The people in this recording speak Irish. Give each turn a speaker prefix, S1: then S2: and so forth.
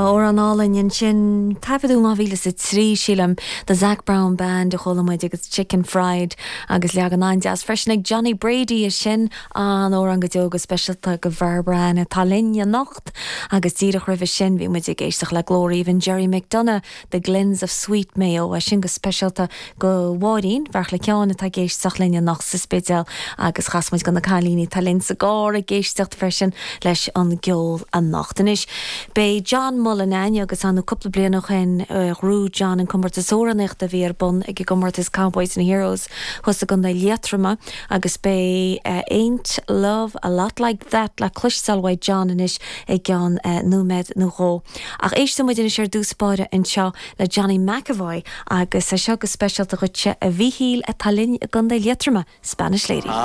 S1: Amhrán álainn ansin, taifeadadh in 2003, sílim, The Zac Brown Band a chuala muid agus Chicken Fried agus leagan an-deas freisin ag Johnny Brady é sin, an-amhrán go deo go speisialta do Bhairbre Ann atá linn anocht agus díreach roimhe sin bhí muid ag éisteacht le glór aoibhinn Gerry McDonagh, The Glens of Sweet Mayo, é sin go speisialta do Mháirín, Bheartla Sheáin atá ag éisteacht linn anocht sa Spidéal agus chas muid do na cailíní atá linn sa gcarr ag éisteacht freisin leis an gceol anocht. Anois, beidh John Mullin agus ar ndóigh cúpla bliain ó shin ghnóthaigh John an comórtas amhránaíochta a bhí ar bun ag an gcomórtas Cowboys and Heroes thuas i gContae Liatroma agus beidh Ain't Love a Lot Like That le cloisteáil uaidh John anois i gceann nóiméad nó dhó. Ach éistfidh muid anois ar dtús báire anseo le Johnny McEvoy agus é seo go speisialta dhuitse a Mhíchíl atá linn i gContae Liatroma, Spanish Lady.